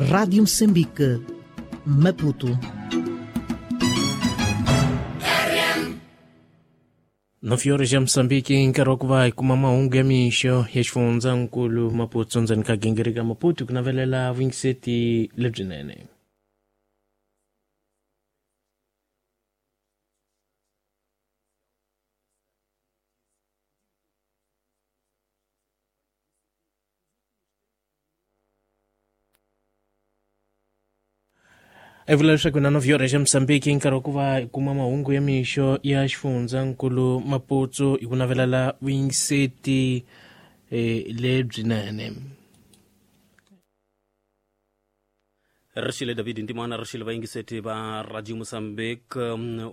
Rádio Moçambique, Maputo. 9 horas ya Moçambique nkarhi wa ku va hi kuma mahungu ya mixo ya xifundzankulu Maputo ndzeni ka gingirika Maputo ku navelela vuyingiseti lebyinene. I vula leswaku na 9 horas ya Moçambique nkarhi wa ku va hi kuma mahungu ya mixo ya xifundzankulu Maputo hi ku navelela vuyingiseti lebyinene. Rixile David Ntimana, rixile vayingiseti va Radio Mozambique.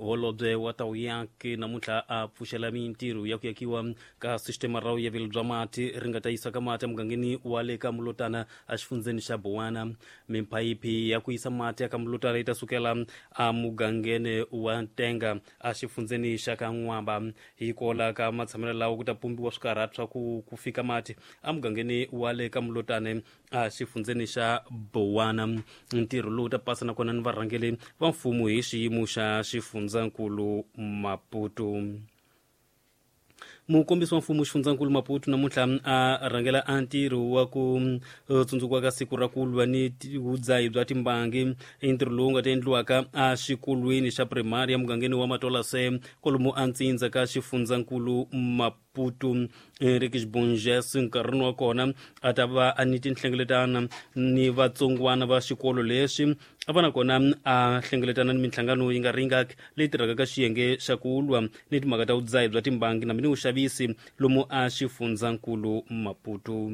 Holobye wa Tawuyaki namuntlha a pfuxela mintirho ya ku yakiwa ka sistema ra vuyaveli bya mati ri nga ta yisa ka mati emugangeni wa le ka Mulotana exifundzeni xa Bowana. Miphayiphi ya ku yisa mati eka Mulotana yi ta sukela emugangeni wa Ntenga exifundzeni xa ka N'wamba. Hi kola ka matshamelo lawa ku ta pumbiwa swikarhati swa ku fika mati emugangeni wa le ka Mulotane exifundzeni xa Bowana. Ntirho lowu ta pasa nakona ni varhangeri va mfumo hi xiyimo xa xifundzankulu Maputo. Mukombisi wa mfumo xifundzankulu Maputo namuntlha a rhangela a ntirho wa ku tsundzukiwa ka siku ra ku lwa ni vudzahi bya timbangi. I ntirho lowu nga ta endliwaka exikolweni xa primary emugangeni wa Matolase kwalomu a Ntsindza ka xifundzankulu Maputo. Enrique Bonges nkarhini wa kona a ta va a ni tinhlengeletana ni vatsongwana va xikolo lexi a va nakona a hlengeletana ni minhlangano yi nga ringaki leyi tirhaka ka xiyenge xa ku lwa ni timhaka ta vudzahi bya timbangi na ni vuxavisi lomu a xifundzankulu Maputo.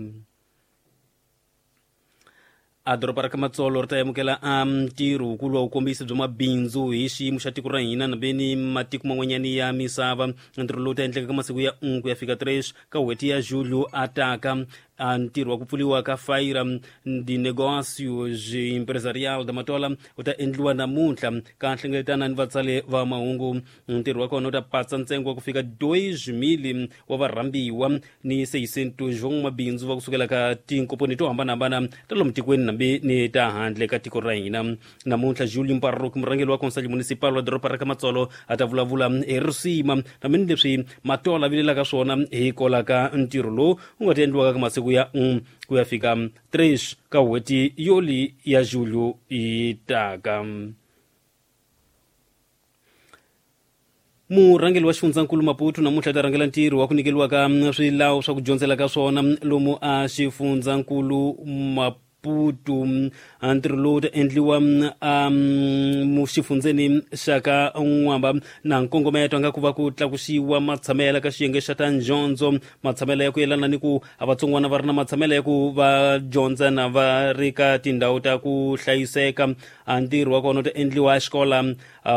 A doroba ra ka Matsolo ri ta amukela a ntirho wukulu wa vukombisi bya mabindzu hi xiyimo xa tiko ra hina nambe ni matiko man'wanyani ya misava. Ntirho lowu ta endleka ka masiku ya 1 ku ya fika 3 ka n'hweti ya Julho a taka. A ntirho wa ku pfuriwa ka Feira de Negócios Empresarial da Matola wu ta endliwa namuntlha ka nhlengeletana ni vatsali va mahungu. Ntirho wa kona wu ta patsa ntsengo wa ku fika 2,000 wa varhambiwa ni 600 van'wamabindzu va kusukela ka tinkomponi to hambanahambana ta lomu tikweni nambe ni ta handle ka tiko ra hina. Namuntlha Julio Mparroki, murhangeri wa Conselho Municipal wa doroba ra ka Matsolo, a ta vulavula hi risima nambe ni leswi Matola vilelaka swona hi kola ka ntirho lowu wu nga ta endliwaka ka masiku ya 1 ku ya fika 3 ka n'hweti yoli ya Julho yi taka. Murhangeri wa xifundzankulu Maputo namuntlha ta rhangela ntirho wa ku nyikeriwa ka swilawu swa ku dyondzela ka swona lomu a xifundzankulu Maputo. Ntirho lowu ta endliwa xifundzeni xa ka N'wamba na nkongometo nga ku va ku tlakusiwa matshamela ka xiyenge xa ta ndyondzo, matshamela ya ku yelana ni ku a vatsongwana va ri na matshamela ya ku va dyondza na va ri ka tindhawu ta ku hlayiseka. Ntirho wa kona wu ta endliwa exikola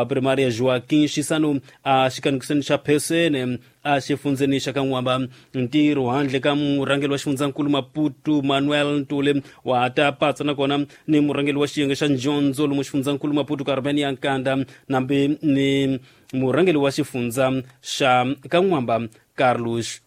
primary ya Joaquim Chissano a xikanikisweni xa Phesene a xifundzeni xa ka N'wamba. Ntirho handle ka murhangeri wa xifundzankulu Maputo Manuel Ntuli wa ta patsa nakona ni murhangeri wa xiyenge xa ndyondzo lomu xifundzankulu Maputo Carmen ya Nkanda nambe ni murhangeri wa xifundza xa ka N'wamba Carlos.